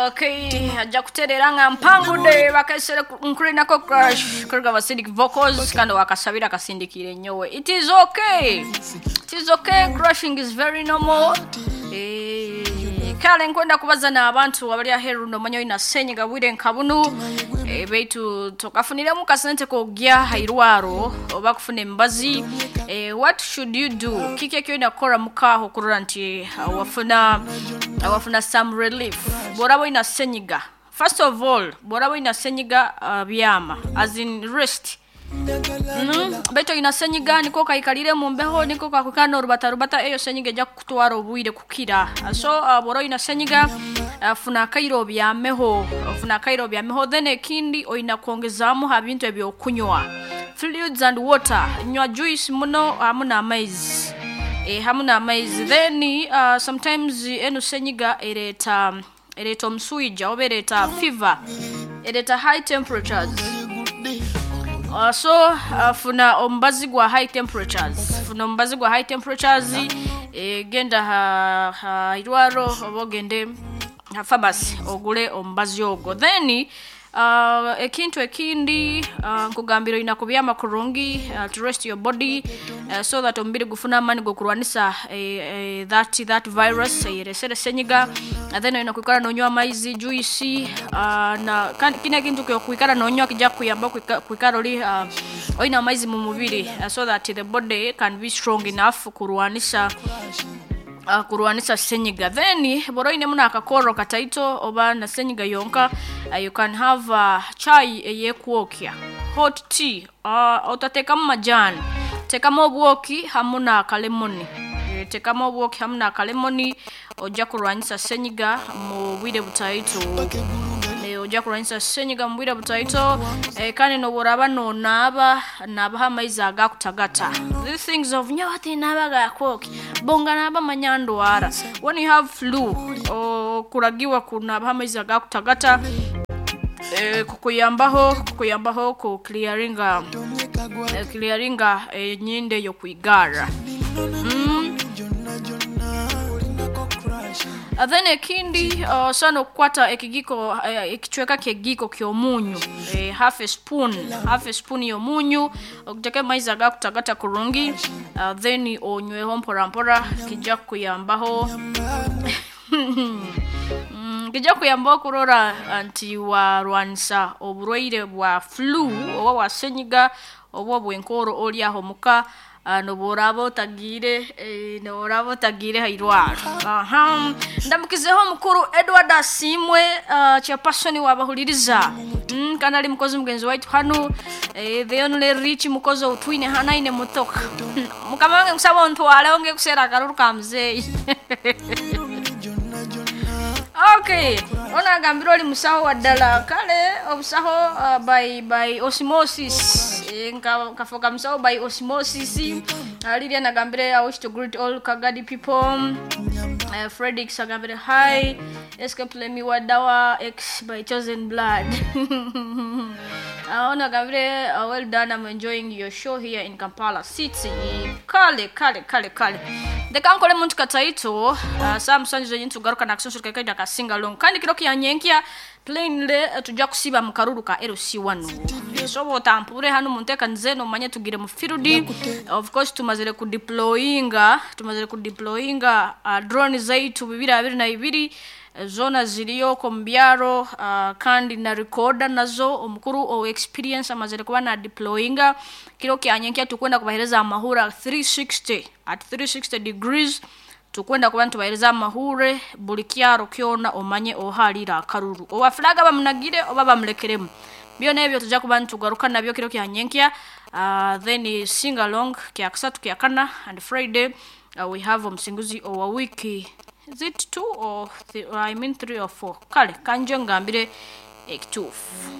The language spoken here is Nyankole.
Okay, ajja kutereera nga mpangudde bakesere nkulinako crush kuruga Acidic Vocals, kandi wakasabira akasindikire nyowe. It is okay, it is okay, crushing is very normal. Kale nkwenda kubaza n'abantu abali aheru nomanya olina senyiga bwire nka bunu, beitu tokafuniremu kasente kogya hairwaro oba kufuna emibazi. What should you do? Kiki ekyolina kukora mukaho kurora nti wafuna some relief bw'oraba olina senyiga? First of all, bw'oraba olina senyiga, byama, as in rest. Baitu olina senyiga niko kaikalire mu mbeho, niko kakwikara n'orubatarubata, eyo senyiga ejja kukutwara obwire kukira. So bw'oba olina senyiga, funa akaire obyameho, funa akaire obyameho. Then ekindi, olina kwongezaamu ha bintu ebyokunywa, fluids and water. Nywa juice muno hamu n'amaizi, hamu n'amaizi. Then sometimes enu senyiga ereeta omuswija oba ereeta fever, ereeta high temperatures. So funa omubazi gwa high temperatures, funa omubazi gwa high temperatures. Genda ha irwaro oba ogende ha pharmacy ogule omubazi ogwo. Then ekintu ekindi, nkugambira olina kubyama kurungi, to rest your body, so that omubiri gufuna amaani g'okurwanisa that virus eyeresere senyiga. Then olina kwikara nonywa amaizi, juice, na kandi kino ekintu kyokwikara nonywa kijja kukuyamba kwikara oli olina amaizi mu mubiri, so that the body can be strong enough kurwanisa senyiga. Then bw'oba oinemu n'akakorro kataito oba na senyiga yonka, you can have chai eyekwokya, hot tea. Otateekamu majani, teekamu obwoki hamu n'akalemoni. Teekamu obwoki hamu n'akalemoni, ojja kurwanyisa senyiga mu bwire butaito. Ojja kurwanyisa senyiga mu bwire butaito. Kandi n'obworaba nonaaba, naabaho amaizi agakutagata. These things of nyowe tinaaba gakwokya bonga naaba manya ndwara. When you have flu, okuragiwa kunaabaho amaizi agakutagata, kukuyambaho ku clearinga enyindo eyo kwigara. Then ekindi, osobola okukwata ekigiko, ekicweka ky'egiiko ky'omunyu, half a spoon, half a spoon y'omunyu, oguteke mu maizi agakutagata kurungi, then onyweho mpora mpora. Kijja kukuyambaho, kijja kukuyambaho kurora nti warwanisa oburwaire bwa flu oba bwa senyiga oba obw'enkooro ori aho muka, n'obu oraaba otagiire hairwaro. Aha, ndamukizeho omukuru Edward Asiimwe, chairperson wabahuliriza, kandi ali mukozi mugenzi waitu hanu, the only rich mukozi outwine hanu aine motoka. Mukama wange, nkusaba ontwaleho ngekuseera akaruru ka muzeeyi. Okay, ono agambire oli musaho wa ddala. Kale obusaho by osmosis, nkafuuka musaho by osmosis. Lilian agambire, "I wish to greet all Kagadi people." Fredix agambire, "Hi Escape, let me Wadawa X by Chosen Blood." Ono agambire, "Well done, I'm enjoying your show here in Kampala City." Kale kale kale kale, ndeka nkole muntu kataito. Saa 7 zenyini tugaruka nakasonsoro kekaita ka singalong, kandi kiro kyanyenkya plainly, tujja kusiba mu karuru ka LC1. So otampure hano munteekanize nomanye tugire mu field. Of course tumazire kudeployinga drone zaitu 2022, zona ziriyo mu byaro, kandi na recorder nazo omukuru o experience amazire kuba na deployinga. Kiro kyanyenkya tukwenda kubahereza amahura 360, at 360 degrees. Tukwenda kuba nitubahereza amahure buli kyaro kyona, omanye oharira akaruru, owa flaga bamunagire oba bamulekeremu. Byona ebyo tujja kuba nitugaruka nabyo kiro kyanyenkya. Then sing along kyakusatu, kyakana and Friday, we have omusinguzi owa wiki. Is it two or I mean three or four? Kale kanje ngambire ekituufu.